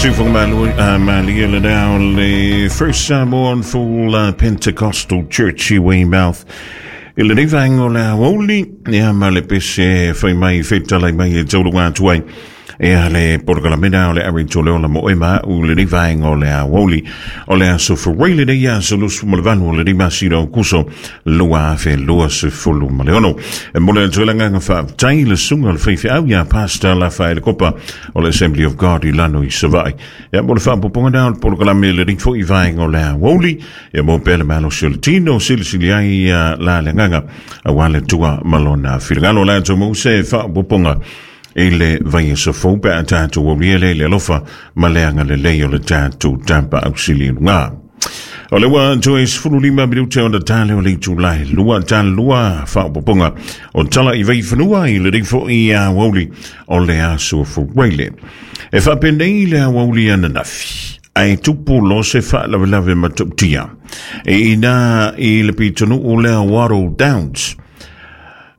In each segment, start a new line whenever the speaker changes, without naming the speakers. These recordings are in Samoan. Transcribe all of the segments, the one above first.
Siufoga malie le now le First Samoan Full Pentecostal Church i Weymouth. I lenei vaega o le aoauli, ia ma le pese fai mai fetalai mai e tauluga atu ai. Ia le polokalame o le ari tole ola mo e ma u lenei vaega o le aoauli. O le aso Fevareira lenei aso 28 o lenei masina o Kuso 2026. E mole atu ai le agaga faafetai le susuga o le faifeau ia Pastor Lafaele Kopa o le Assembly of God i lano i Savaii. Ia mo le faapopoga na o le polokalame lenei foi vaega o le aoauli. Ia mo pea le malosi o le tino silisili ai la le agaga aua le Atua ma lona finagalo. O le atu mo se faapopoga i le vaiaso fou pe a tatou aulia lea i le alofa ma le agalelei o le tatou tapa ausili i luga. O le ua toe 15 minute ona tale o le itula e lua tale lua faapopoga o tala i vaifanua i lenei foi aoauli o le aso Fevareira. E faapenei le aoauli ananafi ae tupu lo se faalavelave matautia e ina i le pitonuu lea Wattle Downs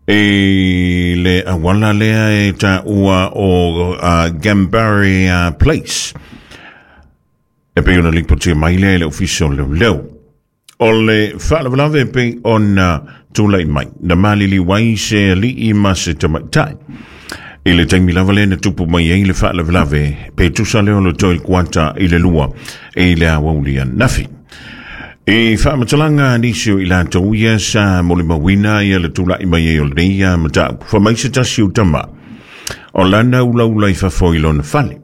i le auala lea e taua o Gambari Place. E pei ona lipotia mai lea i le ofisa o leoleo. O le faalavelave pei ona tulai mai, na maliliu ai se alii ma se tamaitai. I le taimi lava lea na tupu mai ai le faalavelave, pe tusa lea o le toe kuata i le 2 i le aoauli ananafi. I faamatalaga a nisi o i latou ia sa molimauina ia le tulai mai ai o lenei mataupu, fai mai se tasi o tama o lana ulaula i fafo i lona fale.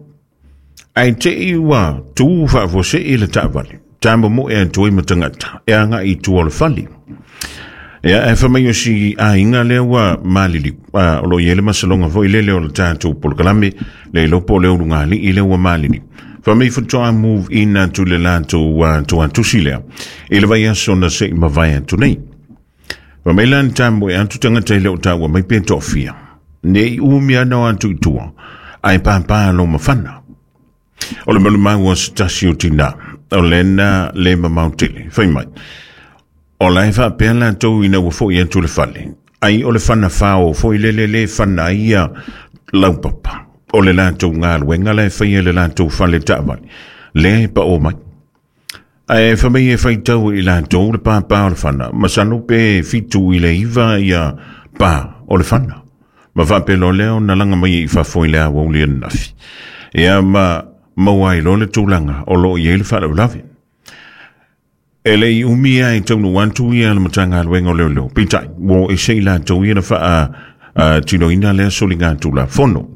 Ae te i ua tu faafuasei le taavale, tamomoe atu ai ma tagata e agai i tua o le fale. Ia, e fai mai o si aiga lea ua maliliu, o lo o i ai le masaloga foi lele o le tatou polokalame, le iloa po o le ulugalii lea ua maliliu. Fai mai faatoa move in atu le latou tuatusi lea i le vaiaso na se i mavae atu nei. Fai mai la na tamoe atu tagata e le o taua mai pe toafia. Ne i umi ana o atu i tua, ae pāpā lo mafana. O le malumaua se tasi o tina, o lena le mamao tele. Fai mai, o la e faapea latou ina ua foi atu le fale, ai o le fana fao foi lele le fana ai ia laupapa. O le latou galuega la e faia i le latou fale taavale, lea e pao mai. Ae fai mai e faitau i latou le pāpā o le fana, masalo pe 7 i le 9 ia pā o le fana. Ma faapea loa lea ona laga mai i fafo i le aoauli ananafi. Ia ma maua ai loa le tulaga o lo o i ai le faalavelave. E le i umi ai taunuu atu ia le Matagaluega o Leoleo. Peitai, ua ese i latou ia na faa tinoina lea soliga tulafono.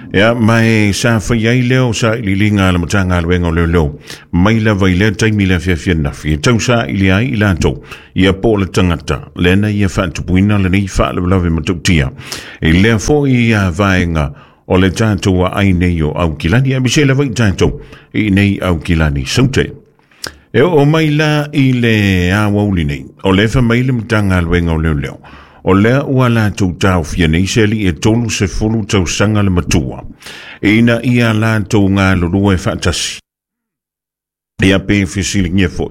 Ia, ma e sa fai ai lea o sailiiliga a le Matagaluega o Leoleo mai lava i lea taimi i le afiafi ananafi e tau saili ai i latou ia po o le tagata lea na ia faatupuina lenei faalavelave matautia i lea foi vaega o le tatou aai nei o Aukilani, aemaise lava i tatou i nei Aukilani Saute. E oo mai la i le aoauli nei, o lea fai mai le Matagaluega o Leoleo, o lea ua latou taofia nei se alii e 30 tausaga le matua, ina ia latou galulue faatasi. Ia pe fesiligia foi,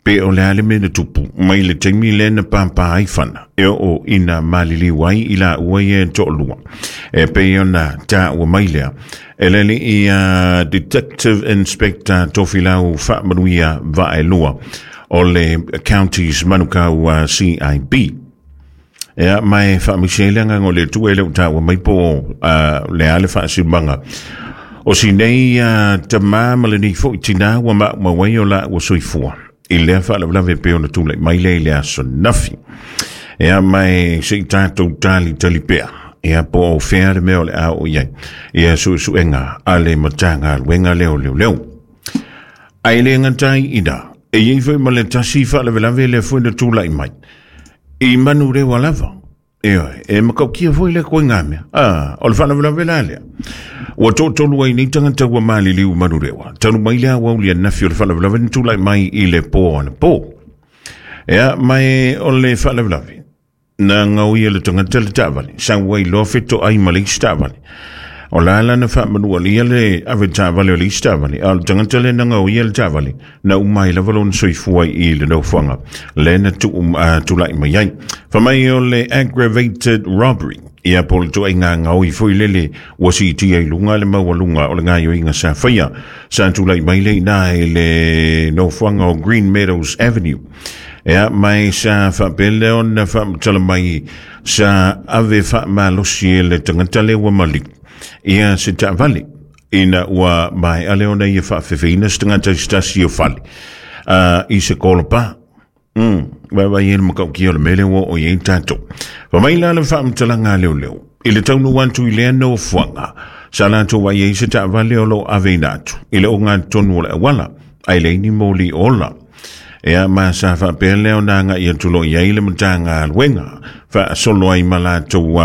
pe o le a le mea na tupu mai le taimi lea na pāpā ai fana, e oo ina maliliu ai i laua ia e toalua. E pei ona taua mai lea, e le alii Detective Inspector Tofilau Faamanuia Vaelua o le Counties Manukau CIB. Ia, ma e faamaise ai le agaga o le Atua e le o taua mai po o le a le faasiumaga. O si nei tamā ma lenei foi tinā ua maumau ai o laua soifua i lea faalavelave pei ona tulai mai lea i le aso nafi. Ia, ma e se i tatou talitali pea, ia po o fea le mea o le a oo i ai, ia suesuega a le Matagaluega lea o Leoleo. Ae le gata ai i ina, e i ai foi ma le tasi faalavelave lea foi na tulai mai i Manurewa lava. Ioe, e matautia foi lea koiga mea. O le faalavelave la lea. Ua toatolu ai nei tagata ua maliliu i Manurewa. Talu mai le aoauli ananafi o le faalavelave na tulai mai i le po anapo. Ea, ma e o le faalavelave, na gaoia le tagata le taavale, sau ai loa fetoai ma le isi taavale. O la la na faamanualia le ave taavale o le isi taavale, a o le tagata lea na gaoia le taavale, na uma ai lava lona soifua i le nofoaga lea na tuu tulai mai ai. Fai mai o le aggravated robbery, ia po o le ituaiga gaoi foi lele ua siitia i luga le maualuga o le gaoioiga sa faia. Sa tulai mai lea i ina i le nofoaga o Green Meadows Avenue. Ia, ma e sa faapea lea ona faamatala mai sa ave faamalosi e le tagata lea ua maliu ia se taavale ina ua maea lea ona ia faafefeina se tagata i se tasi o fale i se kolopa. Vaavaai ai le matautia o le mea lea ua oo i ai tatou. Fai mai la le faamatalaga a leoleo, i le taunuu atu i lea nofoaga, sa latou vaai ai se taavale o lo o aveina atu i le ogatotonu o le auala, ae leai ni moli ola. Ea ma sa faapea lea ona agai atu loa i ai le Matagaluega faasolo ai ma latou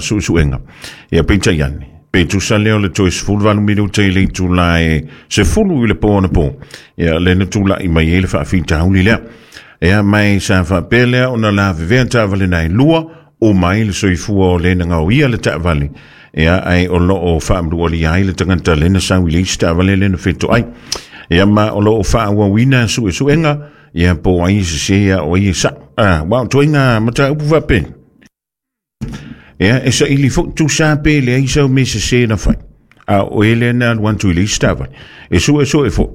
suesuega. Ia peitai ane, pe tusa lea o le toe 18 minute i le itula e 10 i le po anapo, ia lea na tulai mai ai le faafitauli lea. Ea ma e sa faapea lea ona lavevea taavale na e lua, uma ai le soifua o le na gaoia le taavale, ia ae o lo o faamanualia ai le tagata lea na sau i le isi taavale lea na fetoai. Ia ma o lo o faaauauina suesuega, ia po o ai e sese a o ai e sa'o. Aua o ituaiga mataupu faapea, ia e saili foi tusa pe leai sau mea sese na fai, a o oe lea na alu atu i le isi taavale. E suesue foi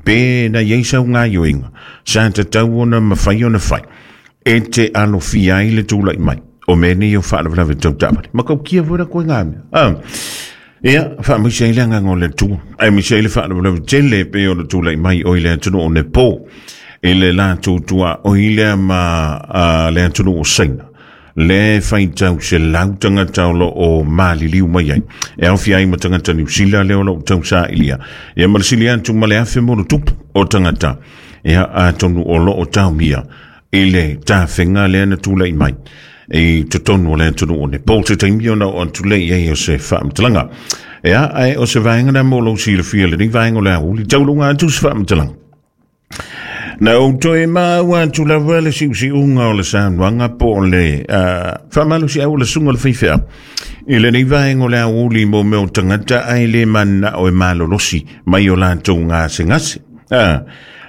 pe na i ai sau gaoioiga sa tatau ona mafai ona fai e te alofia ai le tulai mai o mea nei o faalavelave tau taavale. Matautia foi la koe ngā mea. Ia, faamaise ai le agaga o le Atua, aemaise ai le faalavelave tele e pei ona tulai mai o i le atunuu o Nepal, i le latou tuaoi lea ma le atunuu o Saina, lea e faitau selau tagata o lo o maliliu mai ai, e aofia ai ma tagata Niu Sila lea o lo o tausailia, ia ma le sili atu ma le 1,000+ o tagata, ia atonu o lo o taomia i le tafega lea na tulai mai i totonu o le atunuu o Nepal se taimi ona oo atu lea i ai o se faamatalaga. Ea, ae o se vaega lea mo lou silafia lenei vaega o le aoauli, tauluga atu se faamatalaga. Na ou toe maua atu lava le siusiuga o le saunoaga po o le faamalosiau o le susuga o le faifeau i lenei vaega o le aoauli mo mea o tagata ae le mananao e malolosi mai o latou gasegase.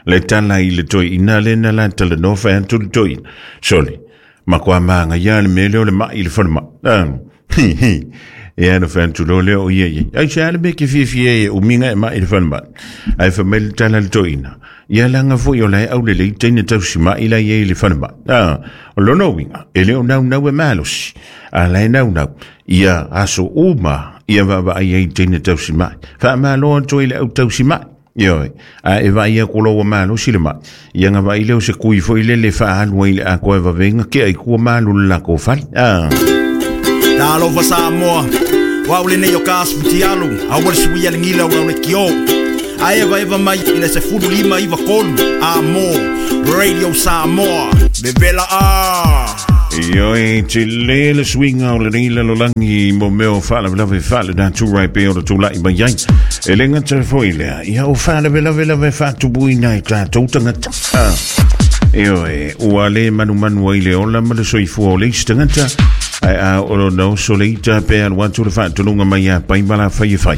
Le tala i le toeaina lea na la talanoa fai atu le toeaina. Sole, matua manaia le mea lea o le mai i le falemai. Ia na fai atu loa lea o ia i ai. Ai se a le mea e te fiafia ai e umi ona e mai i le falemai. Ae fai mai le tala a le toeaina, ia leaga foi o la e aulelei teine tausimai la e i ai i le falemai. O lona uiga, e le o naunau e malosi, a la e naunau ia aso uma ia vaavaai ai i teine tausimai. Faamalo atu ai i le au tausimai. Ioe, a e vaai aku loa ua malosi le mai, ia na vaai lea o se kui foi lele e faaalu ai i le atoa e vave ai na tea i tua ma alu i le latou fale.
Talofa Samoa, o au lenei o ka Futialu, aua le suia le gila o lau leitio. A evaeva mai i le 15 93 a mo Radio Samoa, vevela a.
Ioe, tele le suiga o lenei lalolagi mo mea o faalavelave faalenatura e pei ona tulai mai ai. E le gata foi lea, ia o faalavelave lava e faatupuina e tatou tagata. Ioe, ua le manumanu ai le ola ma le soifua o le isi tagata, ae a o lona oso le ita pe alu atu le faatonuga mai ia pai ma la fai e fai.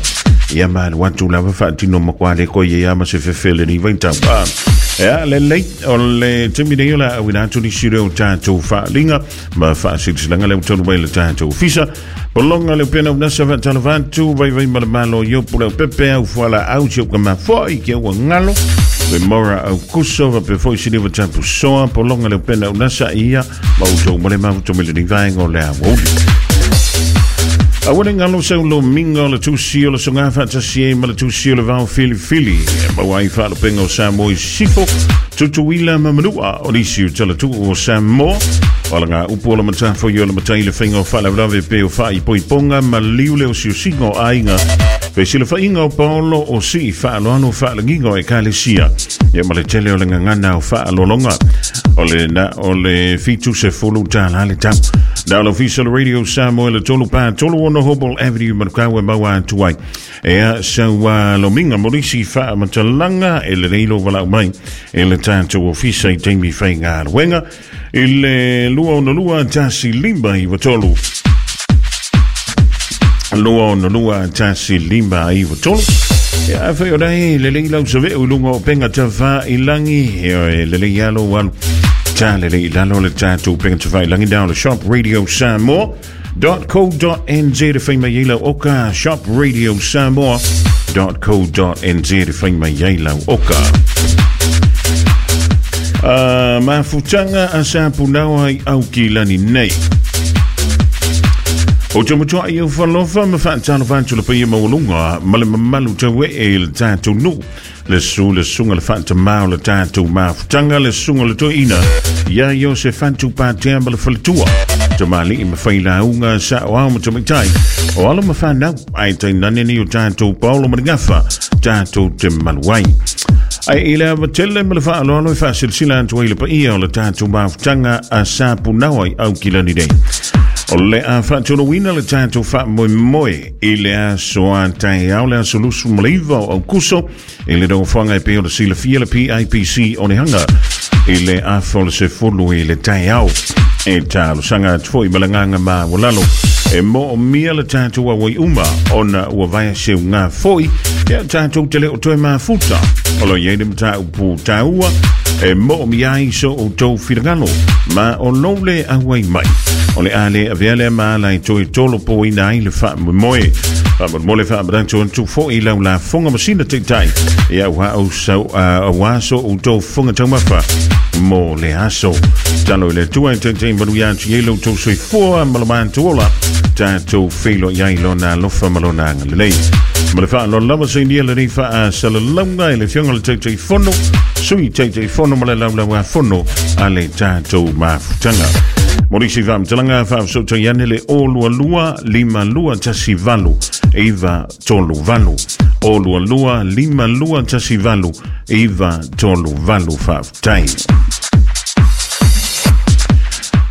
Ia ma alu atu lava faatino matua le koe ia ma se fefe lenei vaitau. Ea, lelei. O le taimi nei o le a auina atu nisi o tatou faaaliga ma faasilasilaga lea ua talu mai le tatou ofisa. Pologa le upena unasa faatalofa atu, vaivai ma le malo i opu leo pepe au fualaau si au kamafo'i ke ua ngalo. Le mora au kuso faapea foi siliva tapu soa, pologa le upena unasa ia ma outou ma le mafuta mai lenei vaega o le aoauli. Aua ne galo sau lomiga o le tusi o le soga faatasi ai ma le tusi o le vao filifili e maua ai faalupega o Samoa i Sisifo, Tutuila ma Manua o nisi o talatuu o Samoa. O ala ngā upu o la matafo i o la matai le whainga o whaalavelave pe o whaaipoiponga ma liu le osiosiga o aiga. Fesilafaiga o Paolo o sii faaaloalo faalagiga o ekalesia. Ia ma le tele o le gagana o faaaloaloga. O le na o le $70 le tau. Na o le ofisa o le Radio Samoa le 3 pa 3 6 Hobble Avenue Manukau e maua atu ai. Ea sau lomiga mo nisi faamatalaga e lelei lou valaau mai e le tatou ofisa i taimi faigaluega i le 262 1 5 9 3. 262 1 5 3. Ia afai o lai lelei lau saveu i luga o upega tafailagi, e lelei lava lou alu ta lelei i lalo le tatou upega tafailagi na o le Shop Radio Samoa .co.nz e fai mai ai lau oka. Shop Radio Samoa .co.nz e fai mai ai lau oka. Mafutaga a sa punaoa i Aukilani nei. O te matua i au whalofa ma whaatalo whātu le paia maualunga ma le mamalu tau e e le tātou nuu. Le su le sunga le whaatamau le tātou mafutaga le sunga le toeina ia Iose Fatu Pātea ma le faletua. Tamalii ma failauga sa o ao ma tamaitai. O alo ma whanau ai tainane ni o tātou paolo ma le gafa tātou te malu ai. Ai i le ava tele ma le faaaloalo e faasilasila atu ai le paia o le tatou mafutaga a sa punaoa i Aukilani nei. O le a faatoloina le tatou faamoemoe i le aso a taeao le aso 29 o Aukuso i le nofoaga e pei ona silafia le PIPC o Nehanga i le afa o le 10 i le taeao. E talosaga atu foi ma le agaga maualalo e moomia le tatou auai uma ona ua vaea seuga foi ia tatou te le o toe mafuta. O lo o i ai le mataupu taua e moomia ai so outou finagalo ma o lou le auai mai. O le a le avea lea ma ala e toe tolopoina ai le faamoemoe. Faamolemole faamanatu atu foi i lau lafoga ma sina taitai ia auā so outou fofoga taumafa mo le aso. Talo i le Atua e taitai manuia atu i ai lo outou soifua ma lo matou ola. Tatou feiloai ai lona alofa ma lona agalelei. Ma le faaaloalo lava sainia lenei faasalalauga i le Afioga i le Taitaifono, Sui Taitaifono ma le Laulauafono a le tatou mafutaga. Mo nisi faamatalaga faafesootai ane le 022 5218 938. 022 5218 938. Faafetai.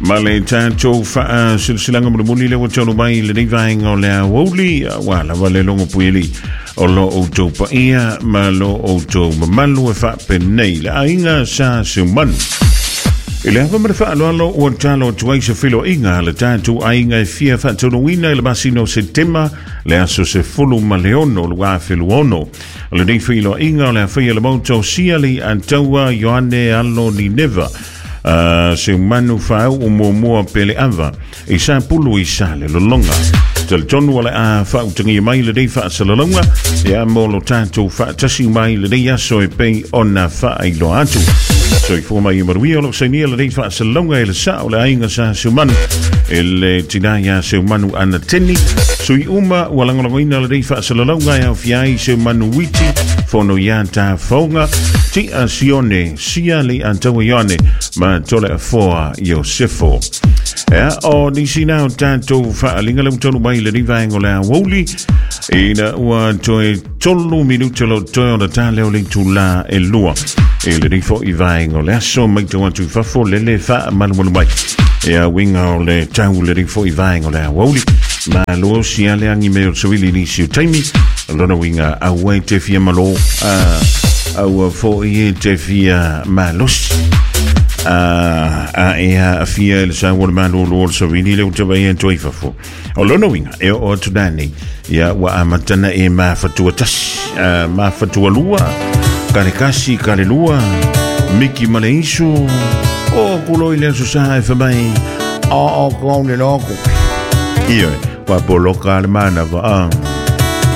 Ma le tatou faasilasilaga mulimuli lea ua taunuu mai i lenei vaega o le aoauli, aua lava le logo puialii o lo outou paia ma lo outou mamalu e faapenei le aiga sa Seumanu. I le ava ma le faaaloalo ua talo atu ai se feiloaiga a le tatou aiga e fia faataunuuina i le masina o Setema le aso 16 2026. O lenei feiloaiga o le a faia le Maota o Siali a Taua Ioane Alo Nineva Seumanu Faauu Muamua Peleava i Sapulu i Salelologa. Talitonu o le a faautagia mai lenei faasalalauga ia mo lo tatou faatasi mai lenei aso e pei ona faailoa atu. Soifua mai ia manuia o lo o sainia lenei faasalalauga e le sao o le aiga sa Seumanu e le tina ia Seumanu Ana Teni. Sui uma ua lagolagoina lenei faasalalauga e aofia ai Seumanu Witi, Fono ia Tafaoga, Tia Sione, Sia le Ataua Ioane ma Tole Afoa Iosefo. Ea, o nisi na o tatou faaaliga le ua taunuu mai i lenei vaega o le aoauli ina ua toe 3 minuta lo toe ona ta lea o le itulā e 2 i lenei foi vaega o le aso. Matau atu i fafo lele faamalumalu mai ia uiga o le tau lenei foi vaega o le aoauli. Malo si ale agi me o le savili i nisi o taimi. Lona uiga aua e te fia malo, aua foi e te fia malosi. A e aafia i le sau o le malolo o le savili le ua te vaai atu ai i fafo. O lona uiga, e oo atu nanei, ia ua amata na e mafatua tasi, mafatua lua, kale kasi, kale lua, miki ma le isu, o kulo i le aso sa e fai mai, o o kou le loko. Ioe, ua poloka le manawa, a.